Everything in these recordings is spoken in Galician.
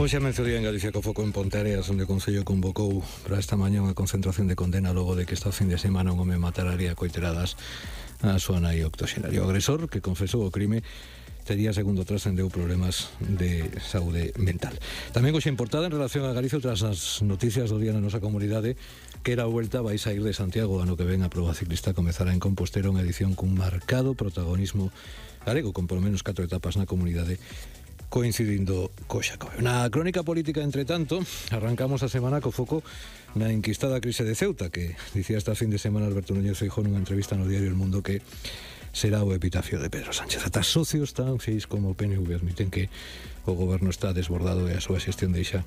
Hoxe a mediodía en Galicia co foco en Ponteareas, onde o Concello convocou para esta mañá unha concentración de condena logo de que esta fin de semana un home matararía coiteradas a súa nai octoxenaria. O agresor, que confesou o crime, tería, segundo trascendeu, problemas de saúde mental. Tamén hoxe en portada en relación a Galicia, tras as noticias do día na nosa comunidade, que era a vuelta vai sair de Santiago, ano que ven a proba ciclista comezará en Compostela, unha edición cun marcado protagonismo galego, con polo menos 4 etapas na comunidade, coincidindo co Xacobeo. Na crónica política, entre tanto, arrancamos a semana co foco na enquistada crise de Ceuta, que dicía esta fin de semana Alberto Núñez Feijóo nunha entrevista no diario El Mundo que será o epitafio de Pedro Sánchez. Ata socios tan feis como o PNV admiten que o goberno está desbordado e a súa xestión deixa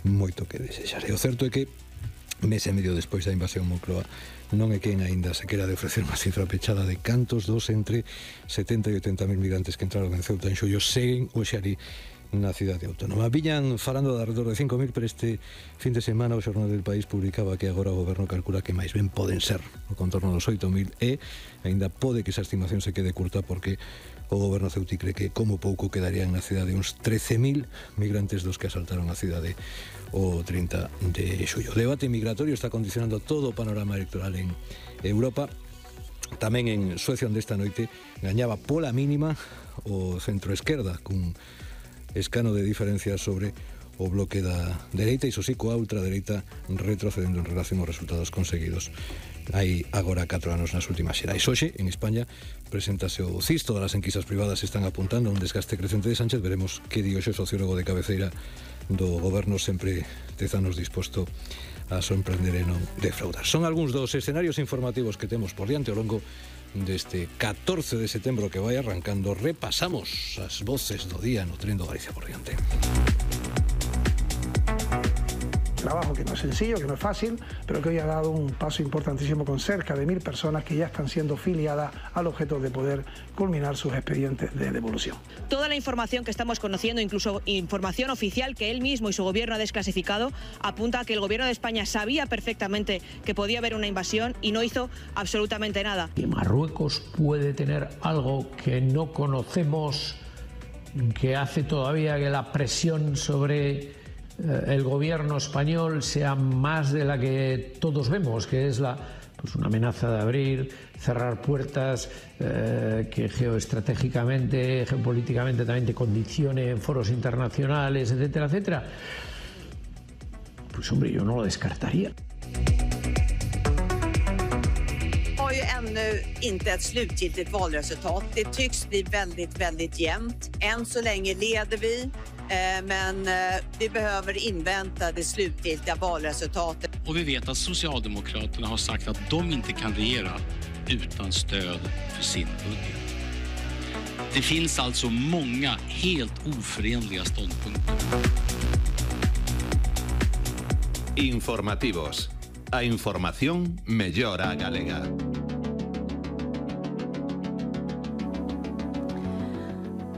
moito que desexar. E o certo é que mes e medio despois da invasión Moncloa non é quen aínda se quera de ofrecer unha cifra pechada de cantos dos entre 70 e 80 mil migrantes que entraron en Ceuta en xullo seguen hoxe ali na cidade autónoma. Viñan falando de alrededor de 5.000, pero este fin de semana o Xornal del País publicaba que agora o goberno calcula que máis ben poden ser o contorno dos 8.000 e aínda pode que esa estimación se quede curta porque o goberno ceutí cree que como pouco quedarían na cidade uns 13.000 migrantes dos que asaltaron a cidade o 30 de xullo. O debate migratorio está condicionando todo o panorama electoral en Europa. Tamén en Suecia, onde esta noite gañaba pola mínima o centro-esquerda, cun escano de diferencia sobre o bloque da dereita, e iso sí, coa ultradereita retrocedendo en relación aos resultados conseguidos hai agora 4 anos nas últimas xerais. Hoxe, en España, preséntase o CIS. Todas as enquisas privadas están apuntando a un desgaste crecente de Sánchez. Veremos que di hoxe o sociólogo de cabeceira do goberno, sempre 10 anos disposto a sorprender e non defraudar. Son algúns dos escenarios informativos que temos por diante ao longo deste 14 de setembro que vai arrancando. Repasamos as voces do día no Tren do Galicia por diante. Trabajo que no es sencillo, que no es fácil, pero que hoy ha dado un paso importantísimo con cerca de 1.000 personas que ya están siendo filiadas al objeto de poder culminar sus expedientes de devolución. Toda la información que estamos conociendo, incluso información oficial que él mismo y su gobierno ha desclasificado, apunta a que el gobierno de España sabía perfectamente que podía haber una invasión y no hizo absolutamente nada. Que Marruecos puede tener algo que no conocemos, que hace todavía que la presión sobre el gobierno español sea más de la que todos vemos, que es una amenaza de abrir, cerrar puertas, que geoestratégicamente, geopolíticamente también te condicione en foros internacionales, etcétera, etcétera. Pues hombre, yo no lo descartaría. Har ju ännu inte ett slutgiltigt valresultat. Det tycks bli väldigt jämnt. Än så länge leder vi. Men vi behöver invänta det slutgiltiga valresultatet. Och vi vet att Socialdemokraterna har sagt att de inte kan regera utan stöd för sin budget. Det finns alltså många helt oförenliga ståndpunkter. Informativos. A información mellora a galega.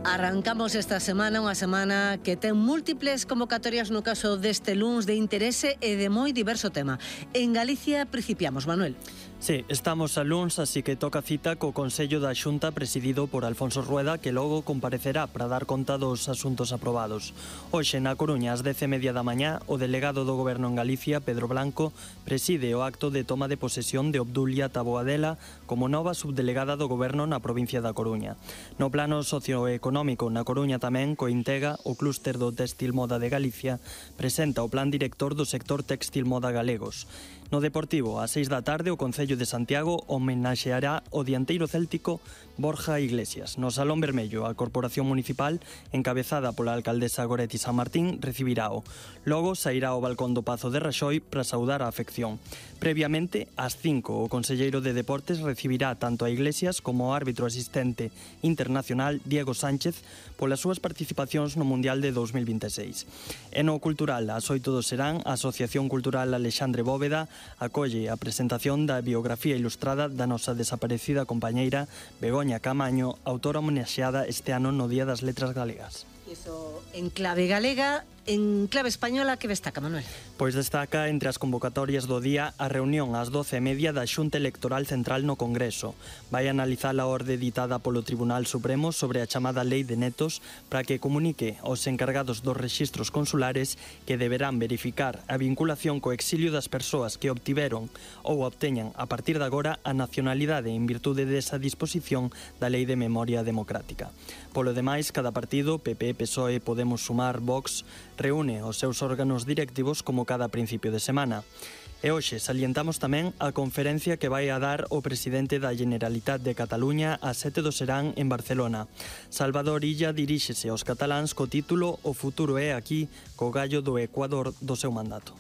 Arrancamos esta semana, unha semana que ten múltiples convocatorias no caso deste luns de interese e de moi diverso tema. En Galicia principiamos, Manuel. Sí, estamos a luns, así que toca cita co Consello da Xunta presidido por Alfonso Rueda, que logo comparecerá para dar conta dos asuntos aprobados. Hoxe, na Coruña, ás 10:30 da mañá, o delegado do Goberno en Galicia, Pedro Blanco, preside o acto de toma de posesión de Obdulia Taboadela como nova subdelegada do Goberno na provincia da Coruña. No plano socioeconómico, na Coruña tamén, Cointega, o clúster do Textil Moda de Galicia, presenta o plan director do sector textil moda galegos. No Deportivo, ás 6 da tarde, o Concello de Santiago homenaxeará o dianteiro céltico Borja Iglesias. No Salón Vermello, a Corporación Municipal, encabezada pola alcaldesa Goretti San Martín, recibirao. Logo sairá ao balcón do Pazo de Raxoi para saudar a afección. Previamente, ás 5, o conselleiro de Deportes recibirá tanto a Iglesias como o árbitro asistente internacional Diego Sánchez polas súas participacións no Mundial de 2026. E no cultural, ás 8 do serán, a Asociación Cultural Alexandre Bóveda acolle a presentación da biografía ilustrada da nosa desaparecida compañeira Begoña Camaño, autora homenaxeada este ano no Día das Letras Galegas. Iso en clave galega En clave española, que destaca, Manuel? Pois destaca entre as convocatorias do día a reunión ás 12:30 da Xunta Electoral Central no Congreso. Vai analizar a orde ditada polo Tribunal Supremo sobre a chamada Lei de Netos para que comunique aos encargados dos rexistros consulares que deberán verificar a vinculación co exilio das persoas que obtiveron ou obteñan a partir de agora a nacionalidade en virtude desa disposición da Lei de Memoria Democrática. Polo demais, cada partido, PP, PSOE, Podemos, Sumar, Vox, reúne os seus órganos directivos como cada principio de semana. E hoxe salientamos tamén a conferencia que vai a dar o presidente da Generalitat de Cataluña a 7 do Serán en Barcelona. Salvador Illa diríxese aos cataláns co título "O futuro é aquí", co gallo do Ecuador do seu mandato.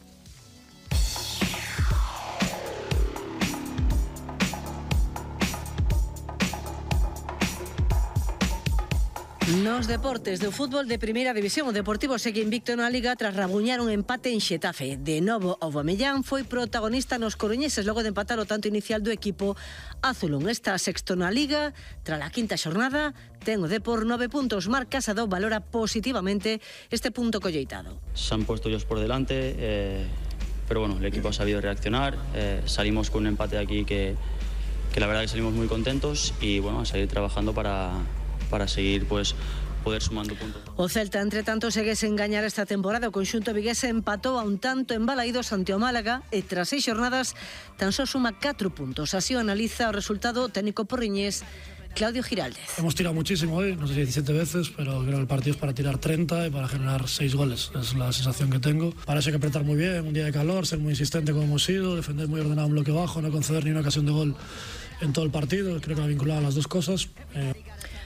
Nos deportes do fútbol de primeira división, o Deportivo segue invicto na Liga tras rabuñar un empate en Xetafe. De novo, Aubameyang foi protagonista nos coruñeses logo de empatar o tanto inicial do equipo azulón. Esta sexto na Liga, tras a quinta xornada, ten o Depor 9 puntos. Marc Casado valora positivamente este punto colleitado. Se han puesto ellos por delante, pero bueno, el equipo ha sabido reaccionar. Salimos con un empate aquí que la verdad que salimos muy contentos y bueno, a seguir trabajando para seguir pues poder sumando puntos. O Celta, entre tanto, segue sen gañar esta temporada. O conxunto vigués empatou a un tanto en Balaídos ante o Málaga e tras 6 xornadas tan só suma 4 puntos. Así o analiza o resultado o técnico porriñés Claudio Giraldez. Hemos tirado muchísimo hoy, no sé si 17 veces, pero creo que el partido es para tirar 30 y para generar 6 goles. Es la sensación que tengo. Para eso hay que apretar muy bien, un día de calor, ser muy insistente como hemos sido, defender muy ordenado en bloque bajo, no conceder ni una ocasión de gol en todo el partido. Creo que va vinculado a las dos cosas.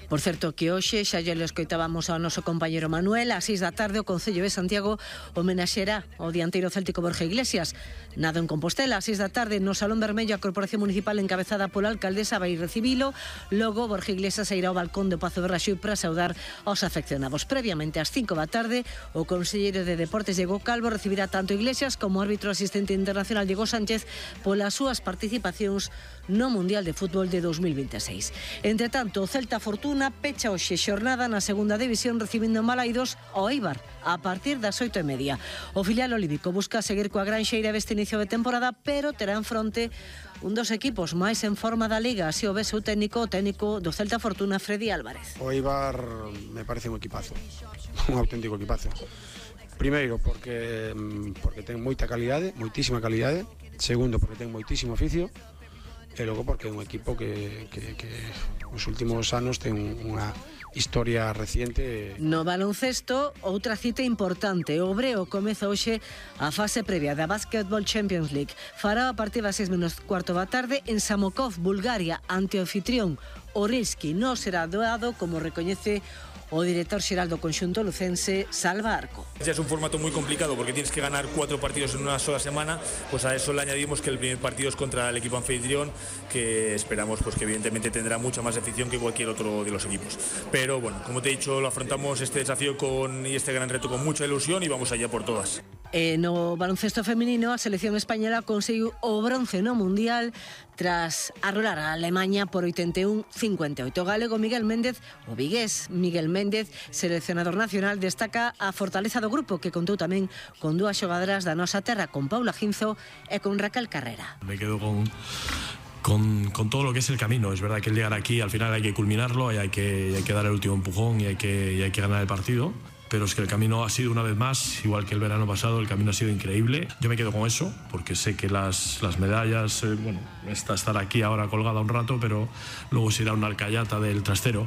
Por certo, que hoxe xa lle escoitábamos ao noso compañero Manuel. A 6 da tarde o Concello de Santiago homenaxeará ao dianteiro céltico Borja Iglesias. Nado en Compostela, a 6 da tarde no Salón Vermello, a Corporación Municipal encabezada pola alcaldesa vai recibilo. Logo, Borja Iglesias irá ao balcón do Pazo de Raxoi para saudar aos afeccionados. Previamente, ás 5 da tarde, o conselleiro de Deportes Diego Calvo recibirá tanto Iglesias como o árbitro asistente internacional Diego Sánchez polas súas participacións no Mundial de Fútbol de 2026. Entre tanto, o Celta Fortuna pecha hoxe xornada na segunda división recibindo en Balaídos ao Eibar a partir das 8:30. O filial olímpico busca seguir coa granxeira deste inicio de temporada, pero terá en fronte un dos equipos máis en forma da Liga, así o ve o técnico do Celta Fortuna, Freddy Álvarez. O Eibar me parece un equipazo, un auténtico equipazo. Primeiro, porque ten moita calidade, moitísima calidade. Segundo, porque ten moitísimo oficio. E logo porque é un equipo que nos últimos anos ten unha historia reciente. No baloncesto, outra cita importante. O Breo comeza hoxe a fase previa da Basketball Champions League. Fará a partir das 6:15 da tarde en Samokov, Bulgaria, ante o anfitrión Orilski. Non será doado, como recoñece o director xeral do conxunto lucense, Salva Arco. Ya es un formato muy complicado porque tienes que ganar 4 partidos en una sola semana, pues a eso le añadimos que el primer partido es contra el equipo anfitrión, que esperamos pues que evidentemente tendrá mucha más afición que cualquier otro de los equipos. Pero bueno, como te he dicho, lo afrontamos este desafío y este gran reto con mucha ilusión y vamos allá por todas. No baloncesto femenino, a selección española conseguiu o bronce no Mundial tras arrolar a Alemania por 81-58. O galego Miguel Méndez, o vigués Miguel Méndez, seleccionador nacional, destaca a fortaleza do grupo, que contou tamén con 2 xogadoras da nosa terra, con Paula Ginzo e con Raquel Carrera. Me quedo con todo lo que es el camino. Es verdad que el llegar aquí al final hay que culminarlo y hay que dar el último empujón y hay que ganar el partido. Pero es que el camino ha sido, una vez más, igual que el verano pasado, el camino ha sido increíble. Yo me quedo con eso, porque sé que las medallas, estar aquí ahora colgada un rato, pero luego se irá una alcayata del trastero.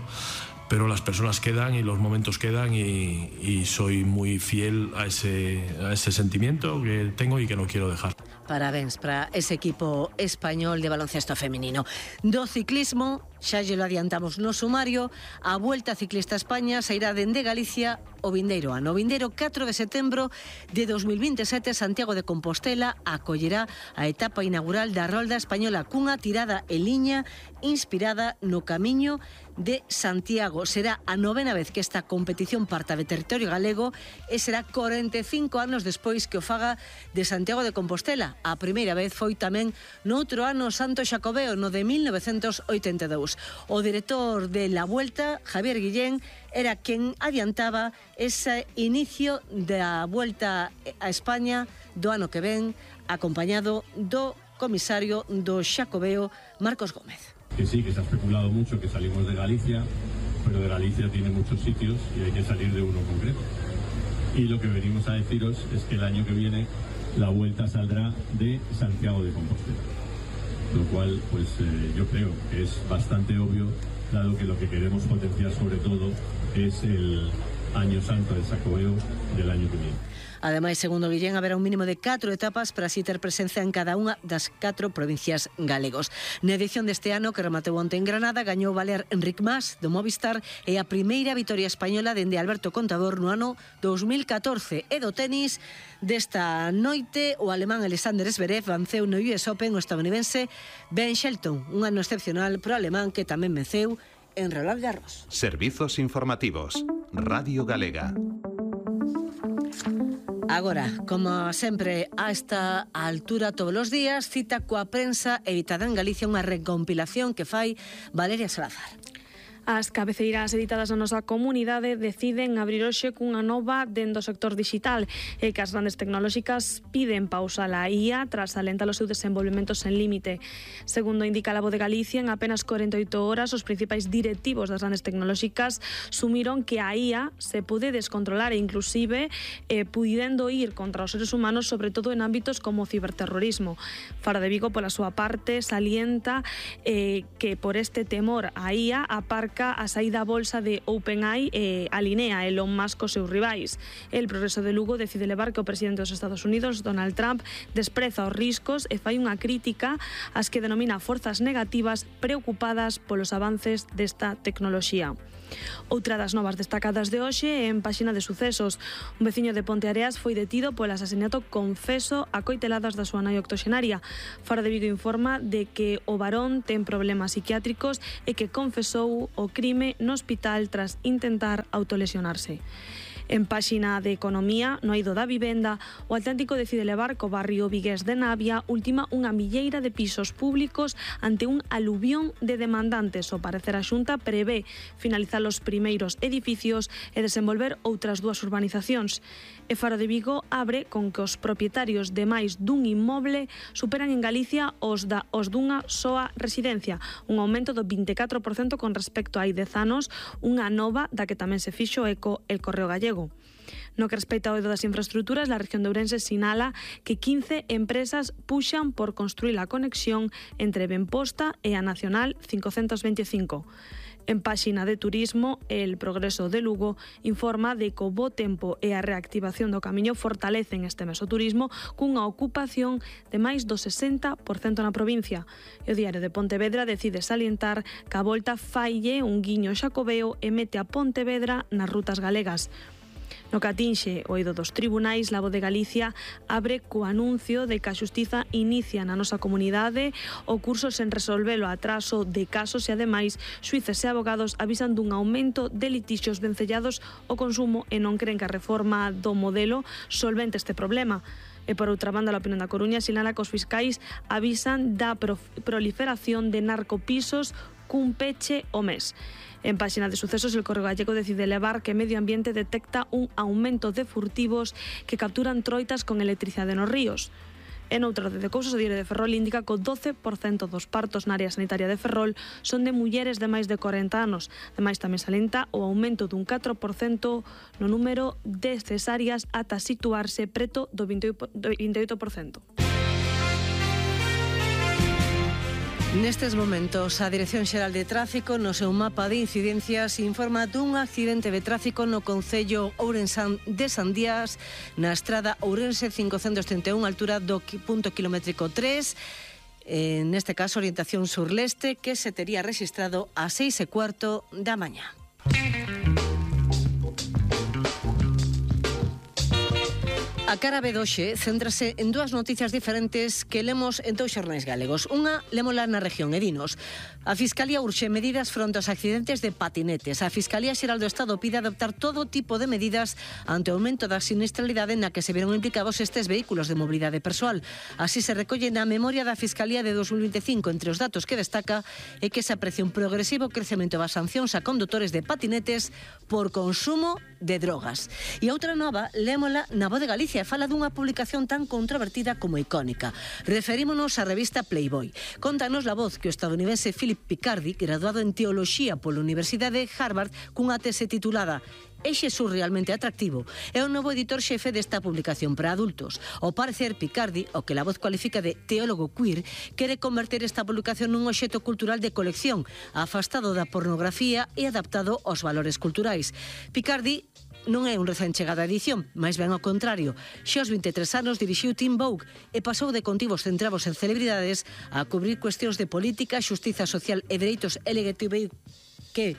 Pero las personas quedan y los momentos quedan y soy muy fiel a ese sentimiento que tengo y que no quiero dejar. Parabéns para ese equipo español de baloncesto femenino. Do ciclismo, xa lle lo adiantamos no sumario, a Vuelta Ciclista a España sairá dende Galicia o vindeiro ano. O vindeiro 4 de setembro de 2027, Santiago de Compostela acollerá a etapa inaugural da Rolda Española cunha tirada en liña inspirada no camiño de Santiago. Será a 9ª vez que esta competición parta de territorio galego e será 45 anos despois que o faga de Santiago de Compostela. A primeira vez foi tamén noutro ano Santo Xacobeo, no de 1982. O director de La Vuelta, Javier Guillén, era quen adiantaba ese inicio da Vuelta a España do ano que ven, acompañado do comisario do Xacobeo, Marcos Gómez. Que sí, que se ha especulado mucho que salimos de Galicia, pero de Galicia tiene muchos sitios y hay que salir de uno concreto. Y lo que venimos a deciros es que el año que viene la Vuelta saldrá de Santiago de Compostela. Lo cual, pues yo creo que es bastante obvio, dado que lo que queremos potenciar sobre todo es el Año Santo del Xacobeo del año que viene. Ademais, segundo Guillén, haberá un mínimo de 4 etapas para así ter presencia en cada unha das 4 provincias galegos. Na edición deste ano, que rematou onte en Granada, gañou Valer Enric Mas, do Movistar, e a primeira vitoria española dende Alberto Contador no ano 2014. E do tenis, desta noite, o alemán Alexander Zverev venceu no US Open o estadounidense Ben Shelton, un ano excepcional pro alemán que tamén venceu en Roland Garros. Servizos informativos. Radio Galega. Agora, como sempre, a esta altura todos os días, cita coa prensa editada en Galicia unha recompilación que fai Valeria Salazar. As cabeceiras editadas na nosa comunidade deciden abrir hoxe cunha nova dentro do sector digital e que as grandes tecnolóxicas piden pausa a IA tras alentar o seu desenvolvemento sen límite. Segundo indica a Voz de Galicia, en apenas 48 horas os principais directivos das grandes tecnolóxicas sumiron que a IA se pode descontrolar e inclusive pudendo ir contra os seres humanos, sobre todo en ámbitos como o ciberterrorismo. Faro de Vigo, pola súa parte, salienta que por este temor a IA aparca a saída a bolsa de OpenAI e alinea Elon Musk cos seus rivais. El Progreso de Lugo decide levar que o presidente dos Estados Unidos, Donald Trump, despreza os riscos e fai unha crítica ás que denomina forzas negativas preocupadas polos avances desta tecnoloxía. Outra das novas destacadas de hoxe é en páxina de sucesos. Un veciño de Ponteareas foi detido polo asasinato confeso a coiteladas da súa nai octoxenaria. Faro de Vigo informa de que o varón ten problemas psiquiátricos e que confesou o crime no hospital tras intentar autolesionarse. En páxina de Economía, no eido da vivenda, o Atlántico decide levar co barrio vigués de Navia última unha milleira de pisos públicos ante un aluvión de demandantes. O parecer a Xunta prevé finalizar os primeiros edificios e desenvolver outras 2 urbanizacións. E Faro de Vigo abre con que os propietarios de máis dun inmoble superan en Galicia os dunha soa residencia, un aumento do 24% con respecto a hai 10 anos, unha nova da que tamén se fixo eco el Correo Gallego. No que respecta ao eido das infraestructuras, la región de Ourense sinala que 15 empresas puxan por construir a conexión entre Benposta e a Nacional 525. En páxina de Turismo, el Progreso de Lugo informa de que o bo tempo e a reactivación do camiño fortalecen este mes o turismo cunha ocupación de máis do 60% na provincia. E o Diario de Pontevedra decide salientar que a volta faille un guiño Xacobeo e mete a Pontevedra nas rutas galegas. No que atinxe o eido dos tribunais, la Voz de Galicia abre co anuncio de que a Xustiza inicia na nosa comunidade o curso sen resolver o atraso de casos e, ademais, xuíces e abogados avisan dun aumento de litixios vencellados ao consumo e non creen que a reforma do modelo solvente este problema. E, por outra banda, a Opinión da Coruña sinala que os fiscais avisan da proliferación de narcopisos cun peche o mes. En páxina de sucesos, el Correo Gallego decide levar que Medio Ambiente detecta un aumento de furtivos que capturan troitas con electricidade nos ríos. En outra de cousas, o Diario de Ferrol indica que o 12% dos partos na área sanitaria de Ferrol son de mulleres de máis de 40 anos. Ademais, tamén salienta o aumento dun 4% no número de cesáreas ata situarse preto do 28%. Nestes momentos, a Dirección Xeral de Tráfico, no seu mapa de incidencias, informa dun accidente de tráfico no concello ourensán de Sandías, na estrada Ourense 531, altura do punto kilométrico 3, neste caso orientación sur-leste, que se tería registrado a 6:15 da mañá. A cara B doxe céntrase en dúas noticias diferentes que lemos en dous xornais galegos. Unha, lémola na región e dinos: a Fiscalía urxe medidas fronte aos accidentes de patinetes. A Fiscalía Xeral do Estado pide adoptar todo tipo de medidas ante o aumento da sinistralidade na que se veron implicados estes vehículos de mobilidade persoal. Así se recolle na memoria da Fiscalía de 2025. Entre os datos que destaca é que se aprecia un progresivo crecemento das sancións a condutores de patinetes por consumo de drogas. E outra nova, lémola na Voz de Galicia, e fala dunha publicación tan controvertida como icónica. Referímonos á revista Playboy. Contanos La Voz que o estadounidense Philip Picardi, graduado en Teoloxía pola Universidade de Harvard, cunha tese titulada "É Xesús realmente atractivo?", é o novo editor xefe desta publicación para adultos. Ao parecer, Picardi, o que La Voz cualifica de teólogo queer, quere converter esta publicación nun obxecto cultural de colección, afastado da pornografía e adaptado aos valores culturais. Picardi non é un recén chegado á edición, máis ben ao contrario. Xa aos 23 anos dirixiu Teen Vogue e pasou de contivos centrados en celebridades a cubrir cuestións de política, xustiza social e dereitos LGTBIQ+,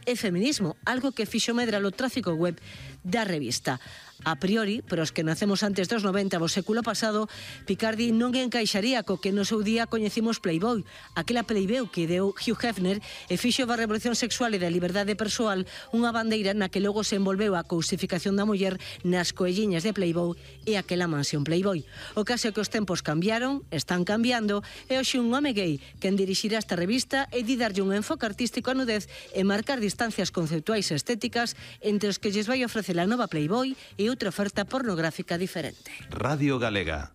e feminismo, algo que fixo medrar o tráfico web da revista. A priori, para os que nacemos antes dos 90 do século pasado, Picardi non encaixaría co que no seu día coñecimos Playboy, aquela Playboy que deu Hugh Hefner e fixo da revolución sexual e da liberdade persoal unha bandeira na que logo se envolveu a cousificación da muller nas coelliñas de Playboy e aquela mansión Playboy. O caso é que os tempos cambiaron, están cambiando, e hoxe un home gay quen dirixirá esta revista e di darlle un enfoque artístico á nudez e marcar distancias conceptuais e estéticas entre os que lles vai ofrecer a nova Playboy e outra oferta pornográfica diferente. Radio Galega.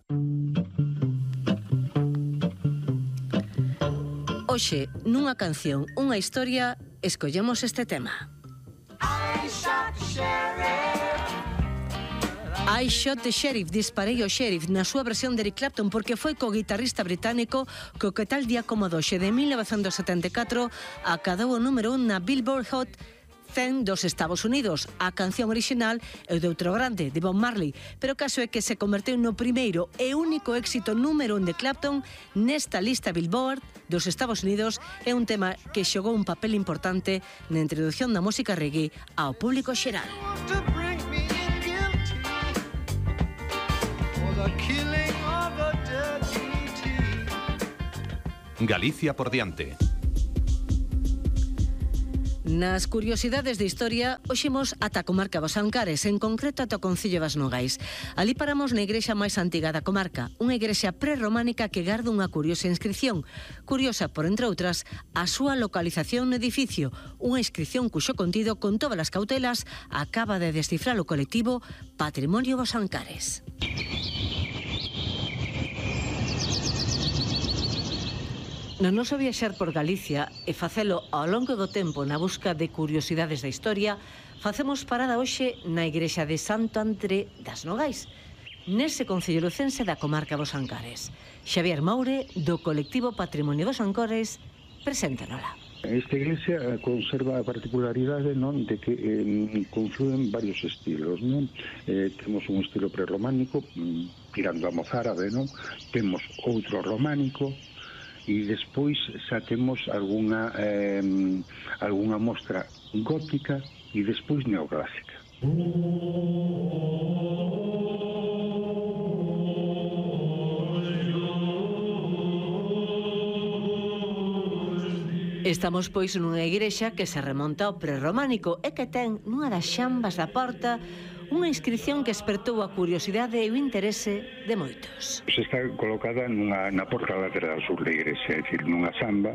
Hoxe, nunha canción, unha historia, escollemos este tema. I Shot the Sheriff, disparei o sheriff, na súa versión de Eric Clapton, porque foi co guitarrista británico co que tal día como doxe de 1974 acadou o número 1 na Billboard Hot 100 dos Estados Unidos. A canción original é de outro grande, de Bob Marley, pero o caso é que se converteu no primeiro e único éxito número 1 de Clapton nesta lista Billboard dos Estados Unidos. É un tema que xogou un papel importante na introdución da música reggae ao público xeral. Galicia por diante. Nas curiosidades de historia, hoxe imos ata a comarca dos Ancares, en concreto ata o concello das Nogais. Ali paramos na igrexa máis antiga da comarca, unha igrexa prerrománica que garda unha curiosa inscripción. Curiosa, por entre outras, a súa localización no edificio, unha inscripción cuxo contido, con todas as cautelas, acaba de descifrar o colectivo Patrimonio dos Ancares. No noso viaxar por Galicia e facelo ao longo do tempo na busca de curiosidades da historia, facemos parada hoxe na igrexa de Santo André das Nogais, nese concello lucense da comarca dos Ancares. Xavier Moure, do colectivo Patrimonio dos Ancares, preséntanola. Esta iglesia conserva a particularidade, non, de que confluen varios estilos, non? Temos un estilo prerrománico, tirando a mozárabe, non? Temos outro románico, e despois xa temos algunha mostra gótica e despois neoclásica. Estamos pois nunha igrexa que se remonta ao prerrománico e que ten nunha das xambas da porta unha inscripción que despertou a curiosidade e o interese de moitos. Está colocada na porta lateral sur da igrexa, é dicir, nunha xamba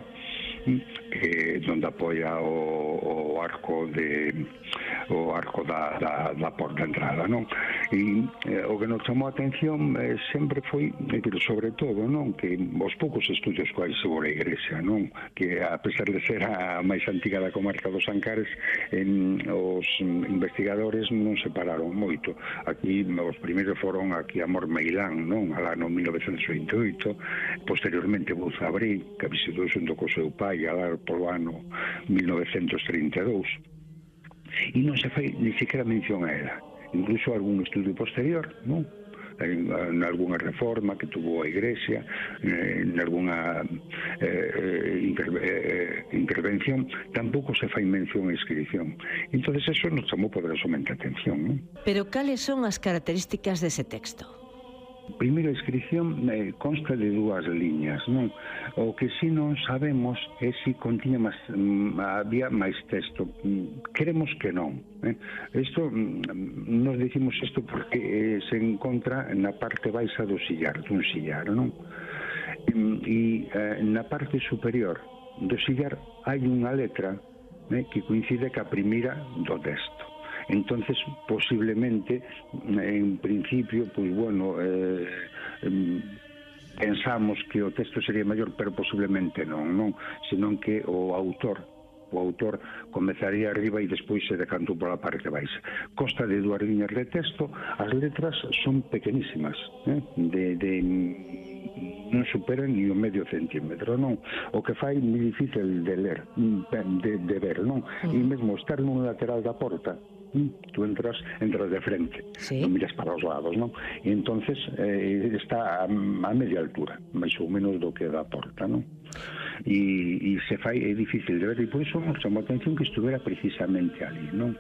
donde apoia o arco da porta entrada, non? E o que nos chamou a atención sempre foi, sobre todo, non, que os poucos estudios que hai sobre a igrexa, non, que a pesar de ser a máis antiga da comarca dos Ancares, os investigadores non se pararon moito. Aquí os primeiros foron aquí a Mormeilán, non, al ano 1928, posteriormente Bouza Abril, que visitou xunto co seu pai alá polo ano 1932, e non se fai ni siquiera mención a ela. Incluso algún estudio posterior, non? en algunha reforma que tuvo a Iglesia, en algunha intervención, tampouco se fai mención a inscripción. Entonces eso nos chamou poderosamente a atención, non? Pero cales son as características dese texto? Primeiro, a inscripción consta de 2 liñas, non? O que si non sabemos é se contiña había máis texto. Queremos que non. Isto, nos dicimos isto porque se encontra na parte baixa dun sillar, non? E na parte superior do sillar hai unha letra que coincide ca primeira do texto. Entonces, posiblemente, en principio, pues bueno, pensamos que o texto sería maior, pero posiblemente non, senón que o autor comezaría arriba e despois se decantou pola parte baixa. Consta de 2 liñas de texto, as letras son pequenísimas, non superan ni o medio centímetro, non? O que fai moi difícil de ler, de ver, non? E mesmo estar nun lateral da porta, tú entras de frente, non miras para os lados, non? E entonces está a media altura, máis ou menos do que da porta, non? E se fai, é difícil de ver, e por iso nos chamou a atención que estuvera precisamente ali, non?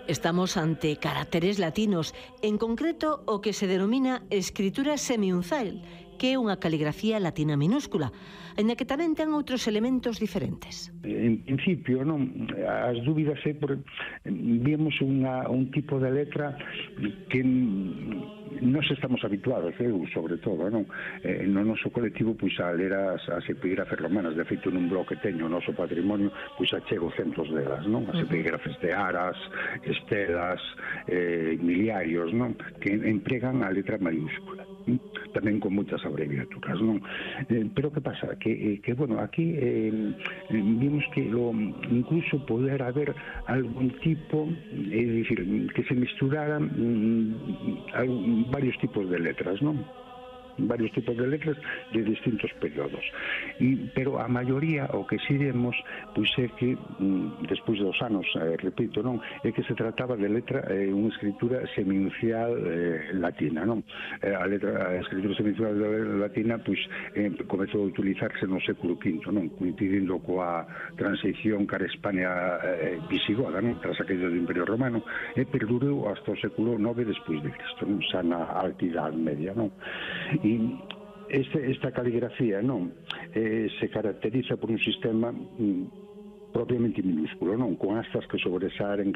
Estamos ante caracteres latinos, en concreto o que se denomina escritura semiunzal, que é unha caligrafía latina minúscula, ainda que tamén ten outros elementos diferentes. En principio, non, as dúbidas é por vemos un tipo de letra que nós estamos habituados, eu sobre todo, non? No noso colectivo, pois a ler as epígrafes romanas, de feito nun blog que teño o noso patrimonio, pois achego centos delas, non? As epígrafes de Aras, Estelas, Miliarios, non? Que empregan a letra maiúscula, tamén con moitas abreviaturas, non? Pero que pasa? Que bueno, aquí vimos que incluso poder haber algún tipo, é dicir, que se misturaran varios tipos de letras, non? Varios tipos de letras de distintos períodos, pero a maioría o que si vemos pois é que despois dos anos, repito, non, é que se trataba de letra, unha escritura semiuncial latina, non? A escritura semiuncial latina pois comezou a utilizarse no século V, non? Coincidindo coa transición cara a España visigoda, non? Tras a caída do Imperio Romano, e perdurou hasta o século IX despois de Cristo, non? Xa na Alta Idade Media, non? E esta caligrafía, non, se caracteriza por un sistema propiamente minúsculo, non, con astas que sobresalen